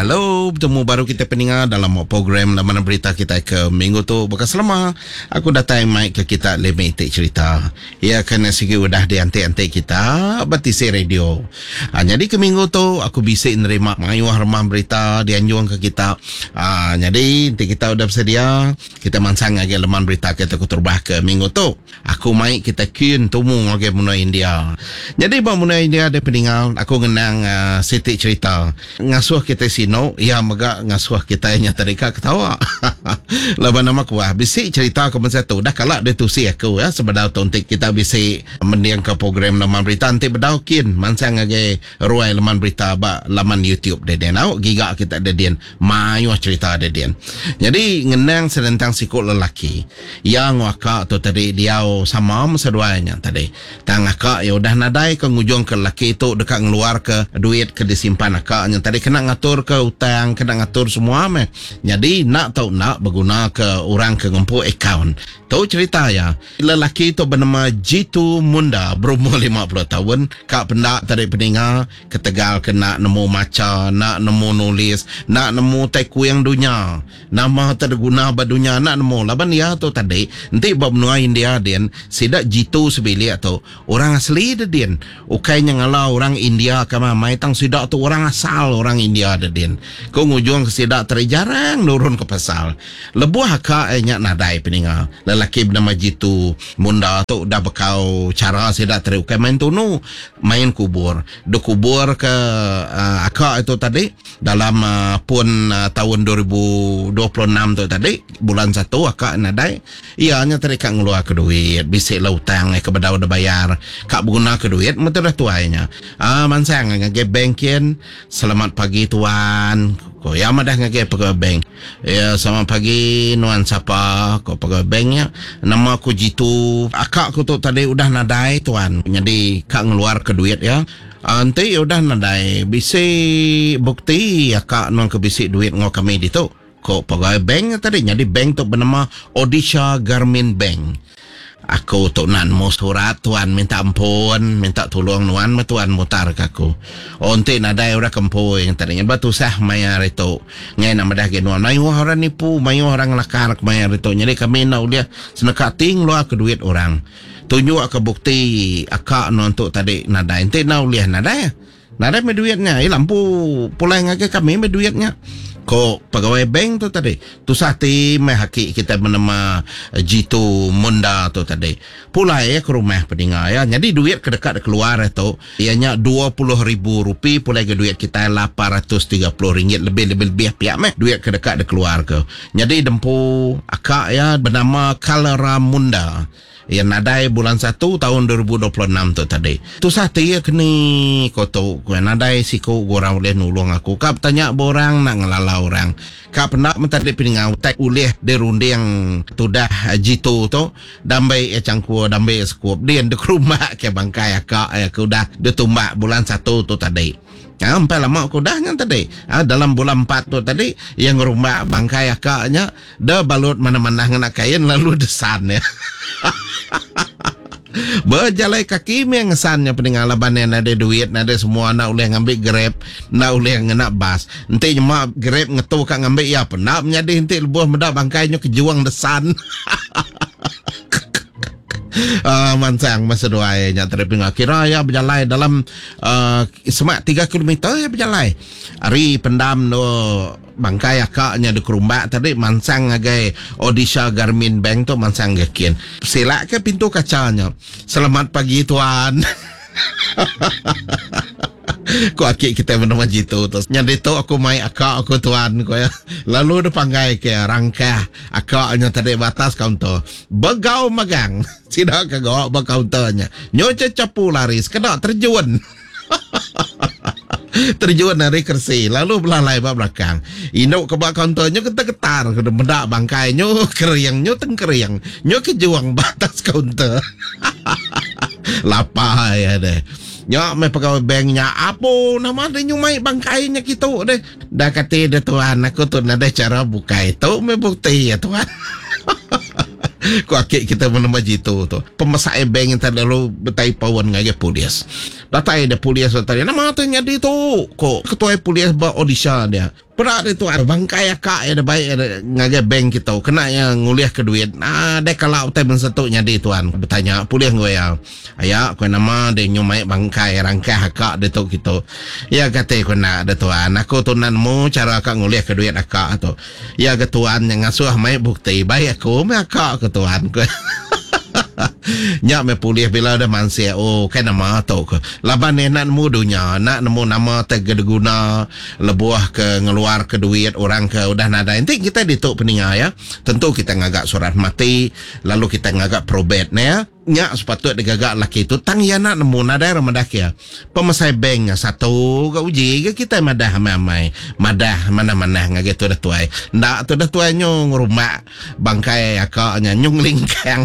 Hello, betemu baru kita peninga dalam program laman berita kita ke minggu tu. Baka selama, aku datai mai ke kita lima iti cerita. Iya ke sigi udah dianti-anti kita ba tisi radio. Ha, nyadi ke minggu tu aku bisi nerima mayuh remah berita dianjung ke kita. Ha, nyadi enti kita udah bersedia, kita mansang ngagai leman berita kita keterubah ke minggu tu. Aku mai kita kin tumu ngagai menua India. Nyadi ba menua India deh peninga aku ngenang uh, siti cerita. Ngasuh kita sinu, iya mega ngasuh kita nya tadi ka ketawa. Laban nama kuah bisi cerita ke masa tu dah kala ditusi aku ya sebedau tu enti kita bisi mending ke program laman berita enti bedau kin mansang ngagai ruai laman berita ba laman YouTube deden. Au giga kita deden mayuh cerita deden. Jadi ngenang senentang siku lelaki. Iya enggau aka tu tadi diau sama meh seduai nya tadi. Tang aka iya udah nadai ke ngujungka lelaki tu deka ngeluarka duit ke disimpan aka nya tadi kena ngaturka utang, kena ngatur semua meh. Nyadi enda tau enda begunaka orang ke ngempu akaun. Tu cherita iya. Lelaki tu benama Jitu Munda berumur 50 taun ka penda tadi peninga ketegal ke enda nemu macha, enda nemu nulis, enda nemu tai kuing dunya. Nama te diguna ba dunya enda nemu laban iya tu tadi enti ba menua India din sida jitu sebilik tu orang asli de din ukai nya ngala orang India ke amai tang sida tu orang asal orang India de din ku ngujung ke sida tadi jarang nurun ke pasal lebuh aka iya nya nadai peninga lelaki benama jitu munda tu udah bekau chara sida tadi ukai main tunu main kubur dikubur ke aka itu tadi. Dalam pun taun 2026 tu tadi, bulan satu aka nadai, iya nya tadi ka ngeluarka duit, bisi lah utang ke bedau dibayar, ka begunaka duit meh tu dah tuai nya. Aaa mansang ngagai bank kin, selamat pagi tuan, ku iya madah ngagai pegawai bank. Iya selamat pagi nuan sapa, ku pegawai bank nya. Nama ku Jitu, aka ku tu tadi udah nadai tuan, nyadi ka ngeluarka duit iya. Enti udah nadai bisi bukti aka nuan ke bisi duit enggau kami ditu, ku pegawai bank nya tadi. Nyadi bank tu benama Odisha Garmin Bank. Aku tu enda nemu surat tuan minta ampun, minta tulung nuan meh tuan mutar ke aku. Oh enti nadai orang ke empu iya tadi nya ba tusah maya hari tu. Ngai enda madah agi nuan mayuh orang nipu, mayuh orang ngelakar kemaya hari tu. Nyadi kami enda ulih seneka ati ngeluarka duit orang. Tunjuk ke bukti aka nuan tu tadi nadai. Enti enda ulih nadai. Nadai meh duit nya. Ila empu pulai ngagai kami meh duit nya. Ko pegawai bank tu tadi. Tusah ati meh aki kitai benema Jitu Munda tu tadi. Pulai iya ke rumah peninga iya. Nyadi duit ke deka dikeluar iya tu iya nya 20,000 rupee pulai ga duit kitai 830 ringgit lebih lebih lebih pia meh duit ke deka dikeluar ke. Nyadi dempu aka iya benama Kalera Munda. Iya nadai bulan satu taun 2026 tu tadi. Tusah ati iya keni ko tu ku iya nadai siku ga orang ulih nulung aku ka betanya ba orang enda ngelala orang. Ka penda men tadi peninga utai ulih dirunding tudah jitu tu dambi iya changkur dambi iya sekup din dikerumbak ke bangkai aka iya ke udah ditumbak bulan satu tu tadi. Ha, empai lama ke udah nya tadi. Ha, dalam bulan empat tu tadi, iya ngerumbak bangkai aka nya, de balut manah-manah ngena kain lalu desan iya. Bejalai kaki meh ngesan nya peninga laban iya nadai duit, nadai semua enda ulih ngambi grab, enda ulih ngena bas. Enti nyema grab ngetu ka ngambi iya pun enda menyadi enti lebuh meda bangkai nya kejung desan. Uh, mansang masa seduai nya tadi pinga kira iya bejalai dalam uh, semak 3 kilometer iya bejalai ari pendam no bangkai aka nya di kerumbak tadi mansang ngagai Odisha Garmin Bank tu mansang ke kin silak ke pintu kaca nya selamat pagi tuan Ku aki kitai benama jitu tu. Nyadi tu aku mai aka aku tuan ku iya. Lalu deh panggai ke rangkah aka nya tadi ba atas kaunter. Begau magang sida ke gawa ba kaunter nya. Nyu chechapu lari sekeda terjun. Terjun ari keresi lalu belalai ba belakang. Indu ke ba kaunter nyu getar-getar ke meda bangkai nyu kering nyu tengkering nyu kejung ba atas kaunter. Lapa iya deh. Nya meh pegawai bank nya apo nama deh nyumai bangkai nya kitu deh. Dah kati deh tuan aku tu nadai cara bukai. Tu meh bukti iya tuan. Ku aki kita menema jitu tu. Pemesai bank nya tadi lalu betai paun ngagai polis. Datai deh polis tu tadi nama tu nyadi tu ku ketuai polis ba Odisha dia. Peda ditu ai bangkai aka iya da bai ngagai bank kitu kena iya ngulih ke duit. Nadai kala utai bansa tu nyadi tuan. Betanya pulih enggau iya. Aya ku nama deh nyu mai bangkai rangkah aka ditu kitu. Iya kati ku enda deh tuan. Aku tu enda nemu chara ka ngulih ke duit aka tu. Iya ga tuan nya ngasuh mai bukti bai aku meh aka ku tuan ku. Nya meh pulih bila udah mansik oh kai nama tu ku. Laban iya enda nemu dunya enda nemu nama te diguna lebuh ke ngeluar ke duit orang ke udah nadai. Enti kitai ditu peninga iya tentu kitai ngaga surat mati lalu kitai ngaga probate ne ya. Nya sepatut digaga laki tu tang iya enda nemu nadai orang madah ke iya. Pemesai bank nya satu ga uji ga kitai madah amai-amai madah manah-manah ngagai tudah tuai. Enda tudah tuai nyu ngerumbak bangkai aka nya nyu ngelingkang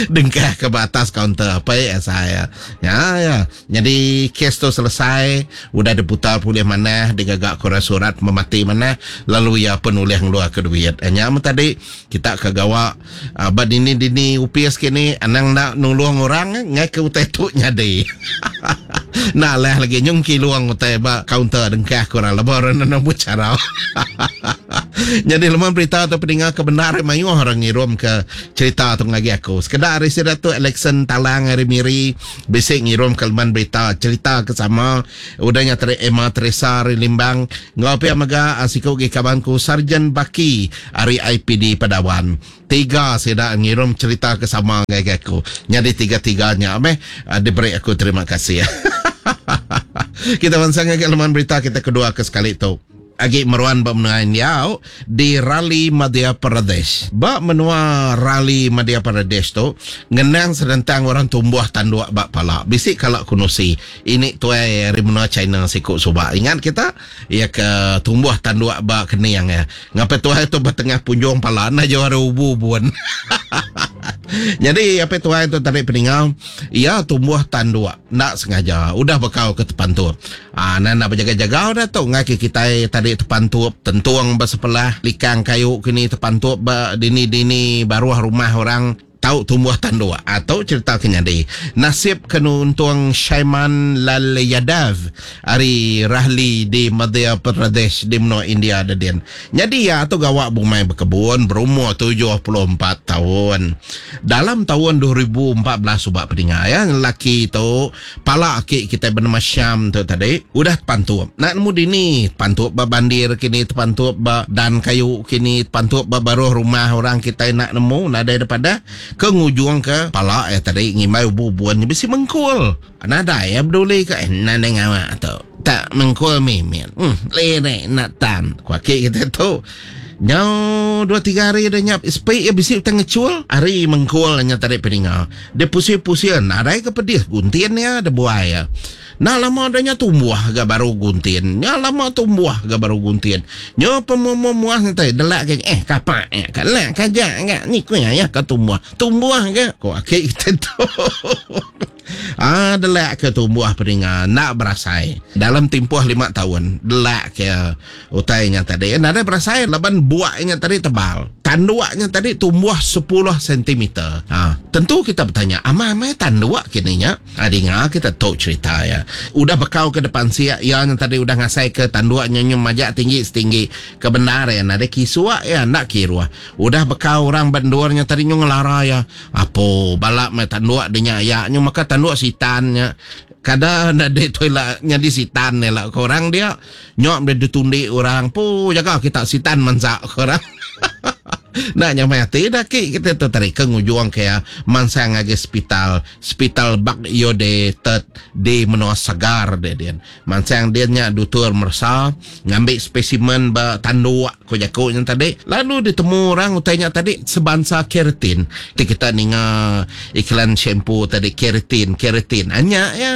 dengkah ke ba atas kaunter apai asai iya. Nya iya. Nyadi kes tu selesai, udah diputar pulih manah, digaga ke orang surat pemati manah, lalu iya pen ulih ngeluarka duit. Nya meh tadi kita ke gawa ba dini-dini opis kini anang enda nulung orang ngaika utai tu nyadi. Enda alah lagi nyung kilung utai ba kaunter dengkah ke orang lebuh orang enda nemu chara. Nyadi leman berita tu peninga ke bendar mayuh orang ngirumka cherita tu ngagai aku. Sekeda ari sida tu Alexon Talang ari Miri, Bisi ngirum ke leman berita cherita ke sama udah nya tadi Emma Teresa ari Limbang enggau pia mega siku agi kaban ku Sarjan Baki ari IPD Padawan. Tiga sida ngirum cherita ke sama ngagai aku. Nyadi tiga-tiga nya meh diberi aku terima kasih. Kita mansang ngagai leman berita kita kedua ke sekali tu. Agi meruan ba menua India di Raleigh Madhya Pradesh. Ba menua Raleigh Madhya Pradesh tu ngenang senentang orang tumbuh tanduk ba pala. Bisi kala ku nusi ini tuai ari menua China siku suba. Ingat kita iya ke tumbuh tanduk ba kening iya. Ngapai tuai tu ba tengah punjung pala enda jauh ari ubu bun. Nyadi apai tuai tu tadi peninga iya tumbuh tanduk enda sengaja udah bekau ke tepantup. Aa nan enda bejaga-jaga udah tu enggai ke kitai tadi tepantup tentung ba sepelah likang kayu kini tepantup ba dini-dini baruh rumah orang tau tumbuh tanduk. Aa tu cherita ke nyadi. Nasib ke nuntung Shaiman Lal Yadav ari Rahli di Madhya Pradesh di menua India dedin. Nyadi iya tu gawa bumai bekebun berumur 74 taun. Dalam taun 2014 suba peninga iya lelaki tu Pala aki kitai benama Syam tu tadi udah tepantup. Enda nemu dini tepantup ba bandir kini tepantup ba dan kayu kini tepantup ba baruh rumah orang kitai enda nemu nadai da padah ke ngujungka pala iya tadi ngimbai ubu ubun nya bisi mengkul. Nadai iya beduli ka eh nadai ngawa tu tak mengkul mimit uhh lirik enda tan ku aki kitai tu. Nyau dua tiga hari udah nya sepi iya bisi utai ngechul ari mengkul nya tadi peninga. Dia pusir-pusir nadai ke pedis guntin iya da buai iya. Enda lama udah nya tumbuh ga baru guntin. Nya lama tumbuh ga baru guntin. Nya pemuah-muah nya tadi delak ke eh kapak nya ka lak ka aja ga ni ku iya ka tumbuh. Tumbuh ga ku aki kita tu. Ah delak ke tumbuh peninga enda berasai. Dalam timpuh lima taun delak ke utai nya tadi nadai berasai laban buak nya tadi tebal. Tanduk nya tadi tumbuh sepuluh sentimeter. Ha tentu kita betanya amai amai tanduk kini nya. Ha dinga kita tu cherita iya. Udah bekau ke depan siak iya nya tadi udah ngasai ke tanduk nya nyu majak tinggi setinggi. Ke bendar iya nadai kisuk iya enda kiruh. Udah bekau orang ba endur nya tadi nyu ngelara iya. Apo bala meh tanduk de nya aya nyu maka tanduk sitan nya. Kada enda de tu ila nyadi sitan ila ko orang dia. Nyok meh ditundi orang pu jaga kita sitan mansa ko orang. Enda nyamai ati da aki kita tu tadi ke ngujung ke iya mansang ngagai sepital, sepital Bak Yode Third di menua Sagar dia din. Mansang din nya dutur meresa ngambi spesimen ba tanduk ko jaku nya tadi lalu ditemu orang utai nya tadi sebansa keratin. Ti kita ninga iklan shampoo tadi keratin keratin nya iya.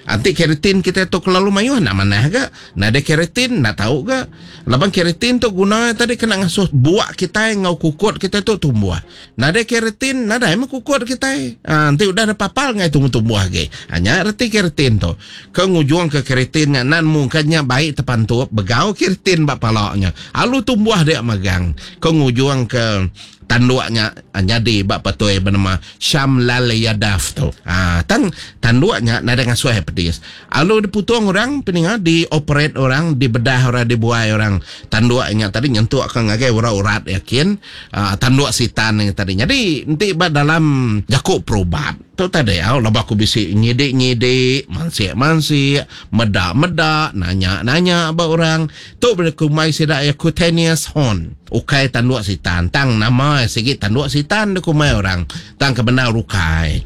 Enti keratin kitai tu kelalu mayuh enda manah ga. Nadai keratin enda tau ga. Laban keratin tu guna iya tadi kena ngasuh buak kitai enggau kukut kitai tu tumbuh. Nadai keratin nadai meh kukut kitai. Aa enti udah dipapal enggai tumbuh-tumbuh agi. Aa nya reti keratin tu. Ke ngujungka keratin nya enda nemu ka nya bai tepantup begau keratin ba pala nya. Alu tumbuh dia magang. Ke ngujungka. Tanduk nya nyadi ba petui benama Sham Lal Yadav tu. Haa tang tanduk nya nadai ngasuh iya pedis. Alu diputung orang peninga dioperate orang dibedah orang dibuai orang tanduk nya tadi nyentuk ka ngagai urat-urat iya kin aa tanduk sitan nya tadi. Nyadi enti ba dalam jaku perubat tu tadi au laban aku bisi nyidi-nyidi mansik-mansik meda-meda nanya-nanya ba orang Tu beri kumbai sida iya cutaneous horn. Ukai tanduk sitan tang nama iya sigi tanduk sitan dikumbai orang tang ke bendar ukai.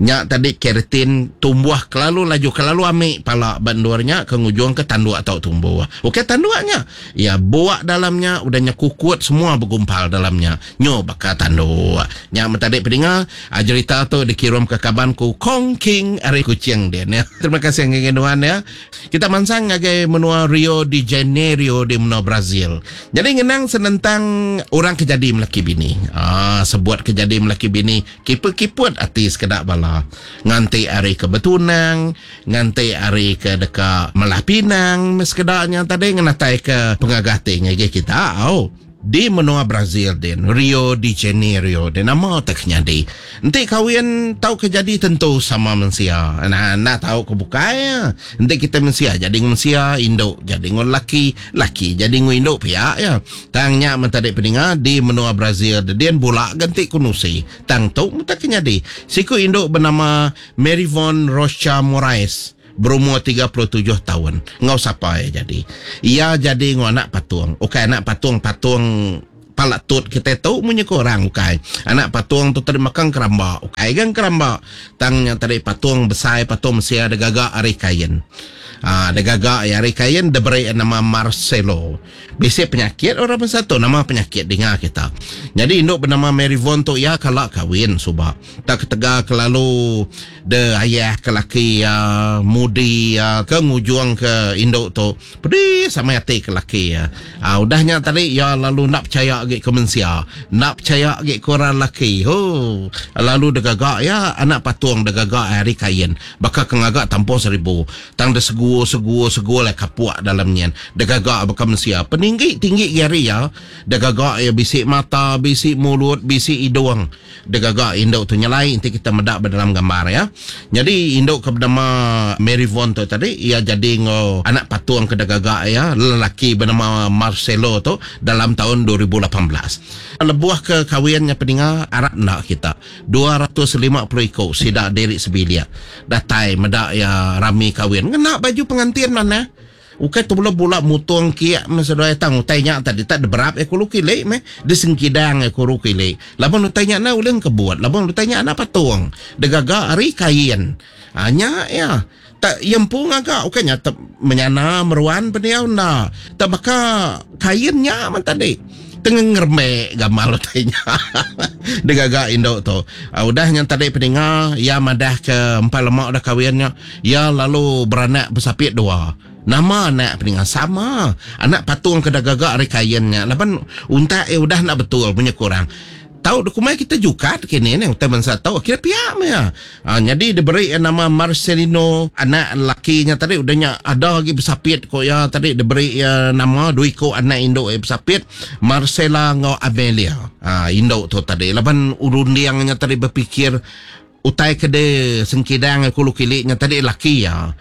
Nya tadi keratin tumbuh kelalu laju kelalu ami pala ba endur nya ke ngujungka tanduk tau tumbuh. Ukai tanduk nya. Iya buak dalam nya udah nya kukut semua begumpal dalam nya. Nyu baka tanduk. Nya meh tadi pedinga jerita tu dikirumka kaban ku Kong King ari Kuching din. Terima kasih ngagai nuan ya. Kita mansang ngagai menua Rio de Janeiro di menua Brazil. Nyadi ngenang senentang orang ke jadi melaki bini. Aaa sebut ke jadi melaki bini kiput-kiput ati sekeda bala. Nganti ari ke betunang, nganti ari ke deka melah pinang meh sekeda nya tadi ngenatai ke pengaga ati ngagai kita au. Di menua Brazil din, Rio de Janeiro din nama te ke nyadi. Enti kawin tau ke jadi tentu sama mensia. Nah, enda tau ke bukai iya. Enti kitai mensia jadi enggau mensia, indu jadi enggau lelaki, lelaki jadi enggau indu pia iya. Tang nya men tadi peninga di menua Brazil de din bula ga enti ku nusi. Tang tu meh te ke nyadi. Siku indu benama Maryvonne Rocha Moraes. Berumur 37 taun. Enggau sapa iya jadi? Iya jadi enggau anak patung. Ukai anak patung patung pala tut kitai tu munyi ku orang ukai. Anak patung tu tadi maka engkeramba. Ukai ga engkeramba. Tang nya tadi patung besai patung mensia digaga ari kain. Aa digaga iya ari kain diberi iya nama Marcelo. Bisi penyakit orang bansa tu nama penyakit dinga kita. Nyadi indu benama Maryvonne tu iya kala kawin suba. Tak ketegal kelalu de ayah ke laki iya mudi iya ke ngujung ke indu tu pedis amai ati ke laki iya. Aa udah nya tadi iya lalu enda pechaya agi ke mensia, enda pechaya agi ke orang laki. Hoo lalu degaga iya anak patung degaga ari kain baka ke ngaga tampung seribu tang de segu segu segu alai kapuk dalam nyin degaga baka mensia. Peninggi tinggi gi ari iya degaga iya bisi mata, bisi mulut, bisi idung. Digaga indu tu nyelai enti kita meda ba dalam gambar iya. Nyadi indu ke benama Maryvonne tu tadi iya jadi enggau anak patung ke digaga iya lelaki benama Marcelo tu dalam taun 2018. Lebuh ke kawin nya peninga arap enda kita 250 iku sida diri sebilik datai meda iya rami kawin ngena baju pengantin manah. Ukai tu bula bula mutung kiak meh seduai tang utai nya tadi tak deberap iya kulu kili meh disengkidang iya kuru kili laban utai nya enda ulih engkebut laban utai nya enda patung digaga ari kain aa nya iya tak iya empu ngaga ukai nya te menyana meruan pendiau enda tak baka kain nya meh tadi tengah ngerembe gamal utai nya digaga indu tu udah nya tadi peninga iya madah ke empai lema udah kawin nya. Iya lalu beranak besapit dua. Nama anak peninga sama. Anak patung ke digaga ari kain nya laban untak iya udah enda betul munyi ku orang. Tau dikumbai kita jukat kini neh utai bansa tu kira pia meh iya. Aa nyadi diberi iya nama Marcelino anak lelaki nya tadi udah nya ada agi besapit ku iya tadi diberi iya nama dua iku anak indu iya besapit Marcella enggau Amelia. Aa indu tu tadi laban runding nya tadi bepikir Utai ke di sengkidang aku lu kili nya tadi laki iya.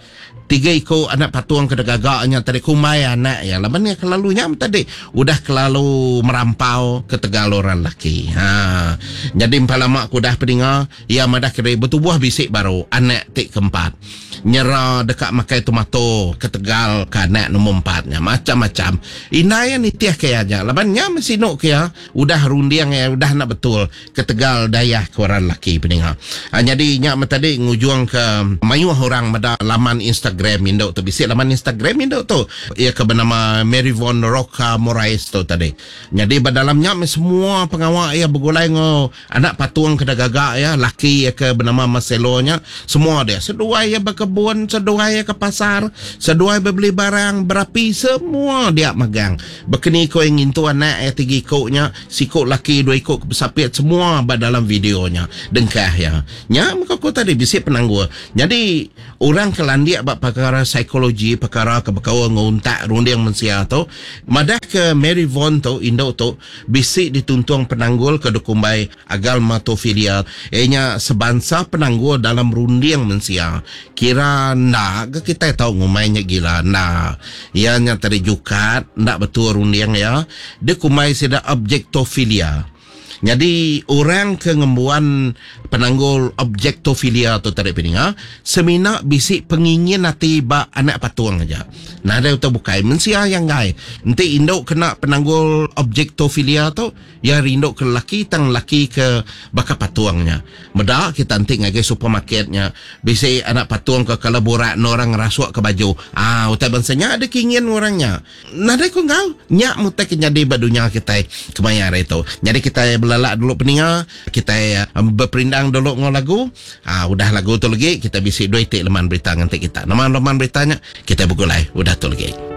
Tiga iku anak patung ke digaga nya tadi kumbai anak iya laban iya kelalu nya tadi udah kelalu merampau ketegal orang laki. Ha. Nyadi empai lama ke udah pedinga iya madah ke diri betubuh bisi baru anak ti keempat. Nyera deka makai tomato ketegal ke anak nombor empat nya macam-macam. Indai iya nitih ke iya aja laban nya meh sinu ke iya udah runding iya udah enda betul. Ketegal dayah ke orang lelaki peninga. Nyadi nya meh tadi ngujung ke mayuh orang meda laman Instagram indu tu. Bisi laman Instagram indu tu iya ke benama Maryvonne Roca Morais tu tadi. Nyadi ba dalam nya meh semua pengawa iya begulai enggau anak patung ke digaga iya laki iya ke benama Marcelo nya semua dia. Seduai iya bekebun, seduai iya ke pasar, seduai bebeli barang, berapi semua dia magang. Bekeni ko iya ngintu anak iya tiga iku nya, siku laki dua iku ke besapit semua ba dalam video nya. Dengkah iya. Nya meh ko aku tadi bisi penanggul. Nyadi orang ke landik ba. pekara psikologi, pekara ke bekaul enggau untak runding mensia tu, madahka Mary Vaughan tu, indu tu, bisi dituntung penanggul ke dikumbai agalmatophilia, iya nya sebansa penanggul dalam runding mensia. Kira enda ga kitai tau ngumbai nya gila, enda. Iya nya tadi jukat, enda betul runding iya, dikumbai sida objectophilia. Nyadi orang ke ngembuan penanggul objectophilia tu tadi peninga semina bisi pengingin ati ba anak patung aja. Nadai utai bukai mensia iya enggai. Enti indu kena penanggul objectophilia tu iya rindu ke lelaki tang lelaki ke baka patung nya. Meda kita enti ngagai supermarket nya bisi anak patung ke kala burak enda orang ngerasuk ke baju. Aa utai bansa nya dikingin orang nya. Nadai ku enggau, nya meh utai ke nyadi ba dunya kitai kemaya hari tu. Nyadi kitai belelak dulu peninga, kitai beperindang dulu enggau lagu. Aa udah lagu tu legi kitai bisi dua iti leman berita nganti kita. Nama leman berita nya? Kitai begulai udah tu legi.